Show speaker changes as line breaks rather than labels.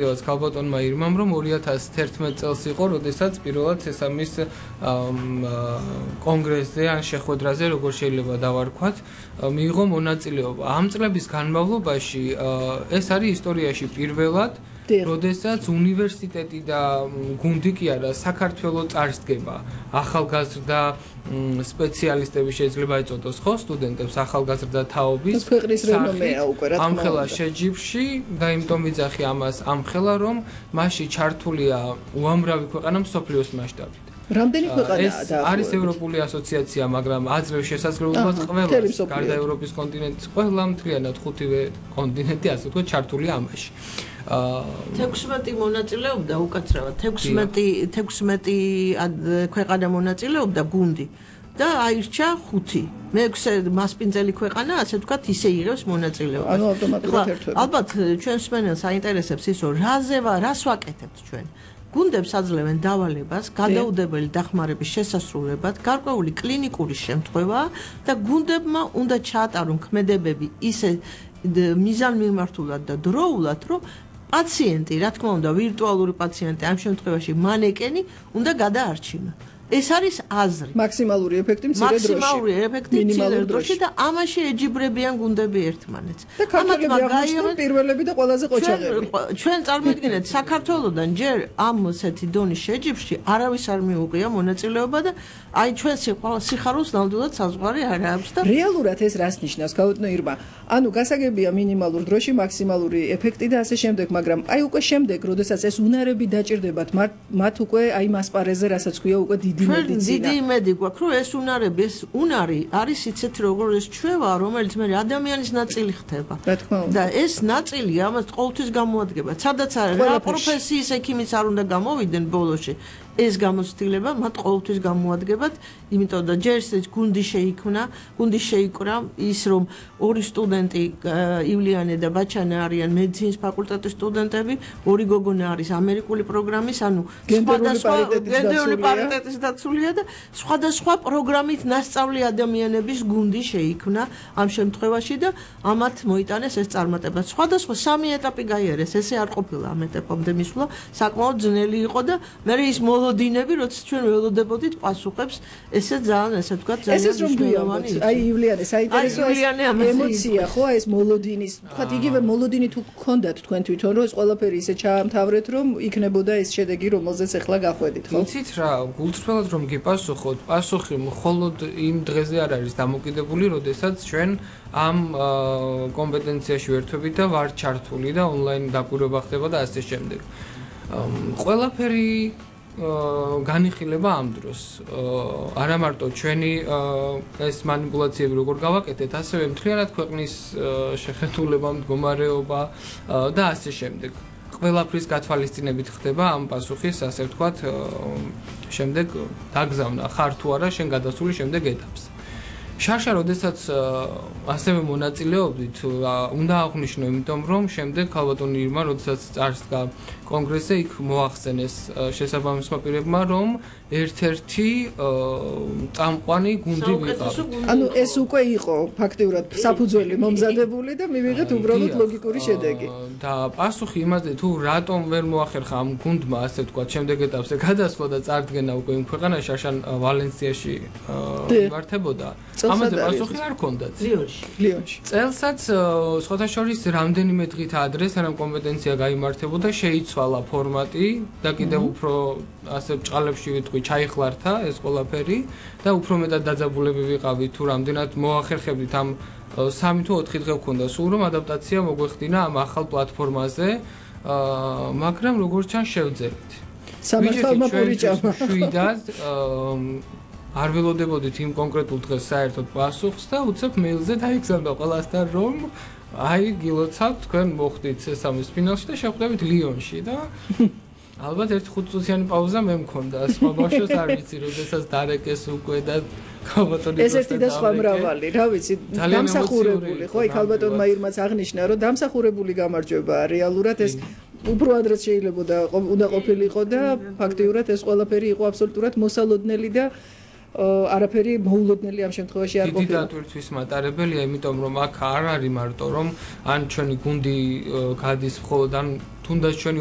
ქალბატონმა ირმამ რომ 2011 წელს იყო, როდესაც პირველად სესამის კონგრესზე ან შეხვედრაზე, როგორ შეიძლება დავარქვათ, მიიღო მონაწილეობა. ამ წლების განმავლობაში ეს არის ისტორიაში პირველად, როდესაც უნივერსიტეტი და გუნდი კი არა, საქართველო წარსდგება. ახალგაზრდა სპეციალისტები შეიძლება ეწოდოს ხო სტუდენტებს ახალგაზრდა თაობის
ქვეყნის რენომეა უკვე რა თქმა უნდა.
ამხელა შეჯიბრში და იმიტომ ვიძახი ამას ამხელა რომ მასში ჩართულია უამრავი ქვეყანა მსოფლიოს მასშტაბით.
რამდენი ქვეყანაა
და არის ევროპული ასოციაცია, მაგრამ აძლევს შესაძლებლობას ყველას, გარდა ევროპის კონტინენტის ყველა მთლიანად 5-ვე კონტინენტი ასე ვთქვათ ჩართულია ამაში.
16 მონაწილეობდა უკაცრავად 16 ქვეყანა მონაწილეობდა გუნდი და აირჩა 5 მე-6 მასპინძელი ქვეყანა ასე ვთქვათ ისე იღებს მონაწილეობას.
ანუ ავტომატურად ერთვება.
ალბათ ჩვენს მსმენელს აინტერესებს ის რომ რას ვაკეთებთ ჩვენ. გუნდებს აძლევენ დავალებას, გადაუდებელი დახმარების შესასრულებლად, გარკვეული კლინიკური შემთხვევაა და გუნდებმა უნდა ჩაატარონ ქმედებები ისე მიზანმიმართულად და დროულად, რომ პაციენტი, რა თქმა უნდა, ვირტუალური პაციენტი, ამ შემთხვევაში მანეკენი უნდა გადაარჩინონ. ეს არის აზრი.
მაქსიმალური ეფექტი მცირე დროში.
მაქსიმალური ეფექტი მცირე დროში და ამაში ეჯიბრებიან გუნდები ერთმანეთს.
და ქართველები აღნიშნულ პირველები და ყველაზე ყოჩაღები.
ჩვენ წარმოიდგინეთ, საქართველოსდან ჯერ ამ ასეთი დონის შეჯიბრში არავის არ მიუღია მონაწილეობა და აი ჩვენ სიხარულს ნამდვილად საზღვარი არ აქვს და
რეალურად ეს რას ნიშნავს, ქალბატონო ირმა? ანუ გასაგებია მინიმალურ დროში მაქსიმალური ეფექტი და ასე შემდეგ, მაგრამ აი უკვე შემდეგ, როდესაც ეს უნარები დაჭირდებათ, მათ უკვე აი მასპარეზზე, რასაც ქვია, უკვე
დიდი იმედი გვაქვს, რომ ეს უნარები, ეს უნარი არის იცით როგორ ეს ჩვევა, რომელიც მე ადამიანის ნაწილი ხდება. და ეს ნაწილი ამას ყოველთვის გამოადგება. სადაც რა პროფესიის ექიმიც არ უნდა გამოვიდნენ ბოლოში. ეს გამოცდილება მათ ყოველთვის გამოადგებათ, იმიტომ და ჯერ ეს გუნდი შეიკრა ის რომ ორი სტუდენტი ივლიანე და ბაჩანა არიან მედიცინის ფაკულტეტის სტუდენტები, ორი გოგონა არის ამერიკული პროგრამის, ანუ სხვადასხვა გენდერული პარიტეტის დაცულია და სხვადასხვა პროგრამით ნასწავლი ადამიანების გუნდი შეიქმნა ამ შემთხვევაში და ამათ მოიტანეს ეს წარმატება. სხვადასხვა 3 ეტაპი გაიარეს, ესე არ ყოფილა ამ ეტაპამდე მისვლა, საკმაოდ ძნელი იყო და მე ის დინები, როცა ჩვენ ველოდებოდით პასუხებს, ესე ძალიან, ესე ვთქვათ, ძალიან მნიშვნელოვანი იყო.
აი ივლიანე, საინტერესოა ემოცია, ხო, ეს მოლოდინის, ვთქვათ, იგივე მოლოდინი თუ გქონდათ თქვენ თვითონ, რომ ეს ყველაფერი ისე ჩაამთავრეთ, რომ იქნებოდა ეს შედეგი, რომელზეც ახლა გახვედით, ხო?
იცით რა, გულწრფელად რომ გიპასუხოთ, პასუხი მხოლოდ იმ დღეზე არ არის დამოკიდებული, როდესაც ჩვენ ამ კომპეტენციაში ვერთვებით და ვარ ჩართული და ონლაინ დაკვირვება ხდება და ასე შემდეგ. ყველაფერი განიხილება ამ დროს. არა მარტო ჩვენი ეს манипуляციები როგორ გავაკეთეთ, ასევე მთლიანად ქვეყნის შეხედულება, მდგომარეობა და ასე შემდეგ. ყველაფრის გათვალისწინებით ხდება ამ პასუხის, ასე ვთქვათ, შემდეგ დაგზავნა ხარ თუ არა შენ გადასული შემდეგ ეტაპს. შარშა, როდესაც ასევე მონაწილეობდით, უნდა აღვნიშნო, იმიტომ რომ შემდეგ ქალბატონი ირმა, როდესაც წარსდგა კონგრესზე, იქ მოახსენეს შესაბამისმა პირებმა, რომ ერთ-ერთი წამყვანი გუნდი ვიყავ.
ანუ ეს უკვე იყო ფაქტიურად საფუძველი მომზადებული და მივიღეთ უბრალოდ ლოგიკური შედეგი.
და პასუხი იმაზე, თუ რატომ ვერ მოახერხა ამ გუნდმა, ასე ვთქვათ, შემდეგ ეტაპზე გადასვლა და წარდგენა უკვე იმ ქვეყანაში, შარშან ვალენსიაში იმართებოდა. ამაზე პასუხი არ ჰქონდათ.
ლიონში.
წელსაც სხვათა შორის რამდენიმე დღით ადრე, სანამ კომპეტენცია გაიმართებოდა, შეიცვალა ფორმატი და კიდევ უფრო ასე ბჭყალებში ვიტყვი, ჩაიხლართა ეს ყველაფერი და უფრო მეტად დაძაბულები ვიყავით, თუ რამდენად მოახერხებდით ამ 3 თუ 4 დღე გქონდა სულ რომ ადაპტაცია მოგვეხდინა ამ ახალ პლატფორმაზე, მაგრამ როგორც ჩანს შევძელით.
სამართალმა პურიჭამა.
შვიდად არ ველოდებოდით იმ კონკრეტულ დღეს საერთოდ პასუხს და უცებ მეილზე დაიგზავნა ყველასთან რომ აი გილოცავთ თქვენ მოხდით სესამის ფინალში და შეხვდებით ლიონში და ალბათ ერთ 5 წუთიანი პაუზა მე მქონდა სხვა ბავშვებს არ ვიცი როდესაც დარეკეს უკვე და ქალბატონი
ეს ერთი და სხვა მრავალი რა ვიცი დამსახურებული ხო იქ ქალბატონმა ირმაც აღნიშნა რომ დამსახურებული გამარჯვებაა რეალურად ეს უფრო ადრეც შეიძლება უნდა ყოფილიყო და ფაქტიურად ეს ყველაფერი იყო აბსოლუტურად მოსალოდნელი და არაფერი მოულოდნელი ამ შემთხვევაში არ ყოფილა.
დიდი დატვირთვის მატარებელია, იმიტომ რომ აქ არ არის მარტო რომ ან ჩვენი გუნდი გადის მხოლოდ ან თუ თუნდაც ჩვენი